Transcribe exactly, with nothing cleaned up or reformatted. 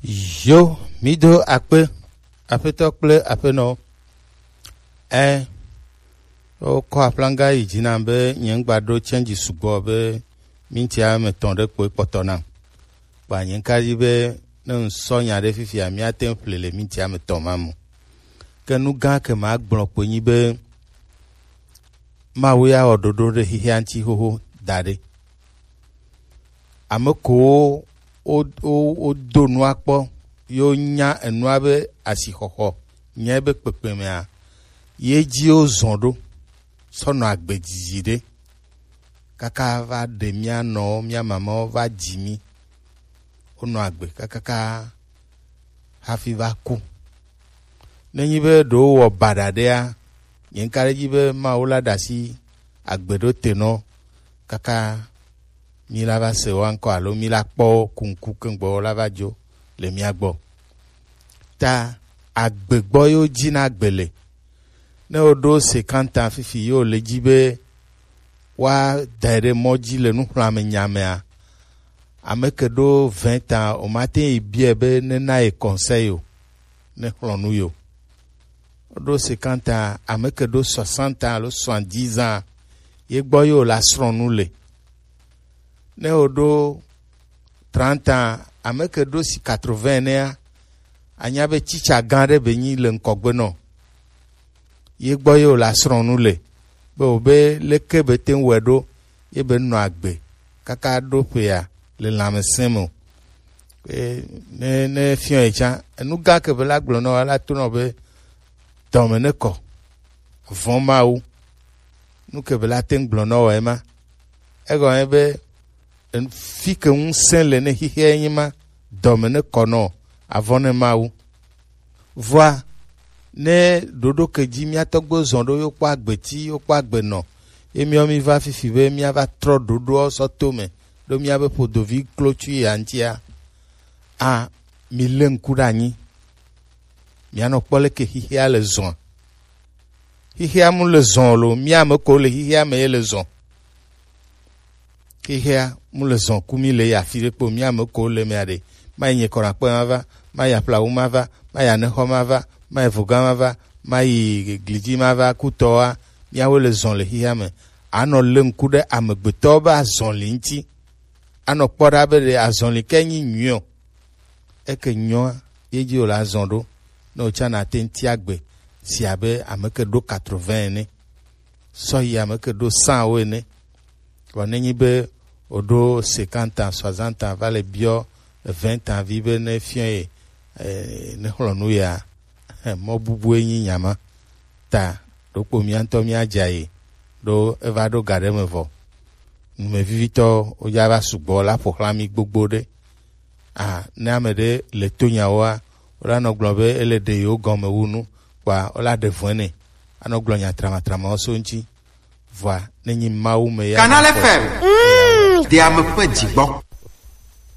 Yo, mi do akpe, aƒetɔ kple aƒenɔ. Ɛ, wokɔ aflanga yi dzi nam be nye ŋgba ɖo change sugbɔ be minti ame etɔ̃ ɖe kpoe kpɔtɔ nam. Kpa nye ŋka dzi be ne ŋsɔ nya ɖe fifia, míate ŋu ƒle le minti ame etɔ̃ ma me. Ke nu gã ke magblɔ kpoe nyi be Mawu ya wɔ ɖoɖo ɖe xexea ŋuti xoxo da ɖi. Ame kewo wo, wo, wodo nua kpɔ, ye wonya enua be asixɔxɔ, nya be kpekpe mea, ye dzi wozɔ ɖo sɔ nɔ agbe didi ɖe kaka va ɖe mía nɔwo, mía mamawo va dzi mí. Wonɔ agbe kakaka hafi va ku. Nenyi be ɖewo wɔ baɖa ɖea, nye ŋka ɖe edzi be Mawu la ɖe asi agbe ɖo te nɔ kaka mí la va se wo ŋkɔ alo mí la kpɔ wo ku ŋku keŋgbɔ wo la va dzo le mía gbɔ. Ta agbe gbɔ ye wodzi na agbe le. Ne woɖo cinquante ans fifi ye wòle dzi be woadae ɖe mɔ dzi le nuxlɔ̃ame nya mea, ame ke ɖo vingt ans womate yi biae be nena ye conseil o, ne xlɔ̃ nu yo. Woɖo cinquante ans, ame ke ɖo soixante ans alo soixante-dix ans, ye gbɔ ye wòle asrɔ̃ nu le. Ne woɖo trente ans, ame ke ɖo si quatre-vingts nɛa, anya be tsitsa gã ɖe be nyi le ŋkɔgbe nɔ. Ye gbɔ ye wòle asrɔ̃ nu le, be wòbe leke be te ŋu wɔe ɖo, ye be nɔ agbe kaka ɖo ƒea le lãmesẽ me o. E, ne, ne fiɔ ye tsã, enu gã ke be la gblɔ nɔ, la to nɔ be dɔme ne kɔ, vɔ̃ Mawu. Nu ke be la te ŋu gblɔ nɔ wɔ ema. Egɔme be, en-, fi ke ŋusẽ le ne xixea nyi ma, dɔme ne kɔ nɔ, avɔ ne Mawu. Vɔa, ne ɖoɖo ke dzi mía tɔgbuiwo zɔ ɖo, yo kpɔ agbe ti, yo kpɔ agbe nɔ, ye míawo mí va fifi be mía va trɔ ɖoɖoawo sɔ to me, ɖo mía be ƒodovi klotsu ya ŋutia, a, mi lé ŋku ɖe anyi. Mía nɔ kpɔ leke xixea le zɔa. Xixea mu le zɔ lo, mía ame ko le xixea me ye le zɔ. Xixea mu le zɔ ku mí le yi afi ɖe kpo, mía ame ko le mea ɖe. Mayi nye kɔɖakpe ma va, mayi aƒlawu ma va, mayi anexɔ ma va, mayi voga ma va, mayi glidzi ma va, kutɔa, míawo le zɔ le xixea me. Anɔ lé ŋku ɖe amegbetɔwo be azɔli ŋuti. Anɔ kpɔ ɖa be ɖe azɔli ke nyi nyuiɔ. Eke nyɔa, ye dzi wòle azɔ ɖo. Ne wòtsã nate ŋu tia gbe si abe ame ke ɖo quatre-vingts ene, sɔ yi ame ke ɖo cent wo ene. Vɔ nenyi be wòɖo cinquante ans, soixante ans, va le biɔ vingt ans vi be ne fiɔ ye, eh, ne xlɔ̃ nu ya, mɔ bubue nyi nya ma. Ta ɖokpo mía ŋutɔ míadza yi ɖo eva ɖo ga ɖe me vɔ. Numevivitɔ wodza va sugbɔ la ƒo xlã mí gbogbo ɖe. A, ne ame ɖe le to nyawoa, wola nɔ gblɔ be ele ɖe yewo gɔme wu nu, kpa wola ɖe vɔe nɛ. Anɔ gblɔ nya tramatramawo so ŋuti. Vɔa, ne nyi Mawu me ya Canal F M. Mm. Ɖe ame ƒe dzi gbɔ.